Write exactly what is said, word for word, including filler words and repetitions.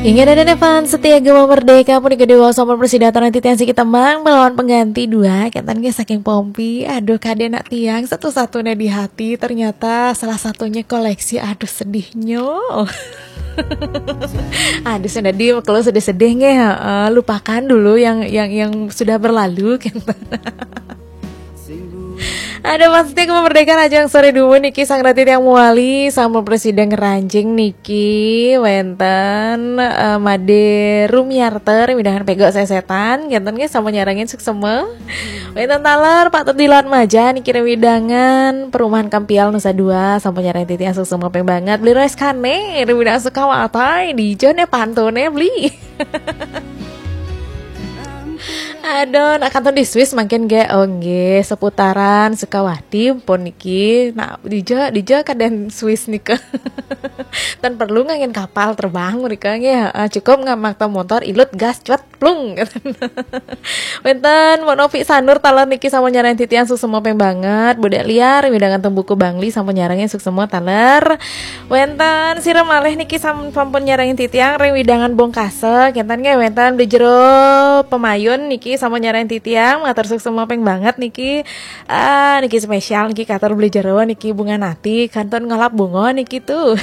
Ingat ada fans setia Gema Merdeka, pun kedua sama persidatan nanti tiang sikit tembang melawan pengganti dua, ketan ke saking Pompi. Aduh, kade nak tiang satu-satunya di hati, ternyata salah satunya koleksi. Aduh, sedihnya. Aduh, sudah di kalau sedih-sedih nggih, heeh, lupakan dulu yang yang yang sudah berlalu. Ada pasti kemerdekaan aja yang sore dulu niki sang rati yang muali sama presiden ngeranjing niki wenten, eh, Made Rumiarter midangan pego sesetan genten nggih sama nyarangin suksema. Wenten taler Pak Tedilan Maja niki widangan perumahan Kampial Nusa Dua sama nyarangin titiang suksema peng banget beli rice kane widangan Sukawatai di jone pantone beli. Aduh, nak kantor di Swiss makin ge, oh nggih, seputaran Sukawati pun niki. Nah, dija dija kaden Swiss nika. Tan perlu ngangen kapal terbang mereka nggih, heeh, cukup ngamakta motor ilut gas cuat plung. Wenten Mbok Novi Sanur taler niki sama nyarang titiang suksema peng banget. Budek liar widangan tembuku Bangli sama nyarangnya suksema taler. Wenten sira malih niki sam-, sampun nyarengin titiang ring widangan Bongkasa, kenten nggih wenten di jero Pemayun niki sampun nyarengin titiang, matur suksema ping banget niki. Ah, niki spesial niki katur beli jero niki bunga nati, kantun ngelap bunga niki tuh.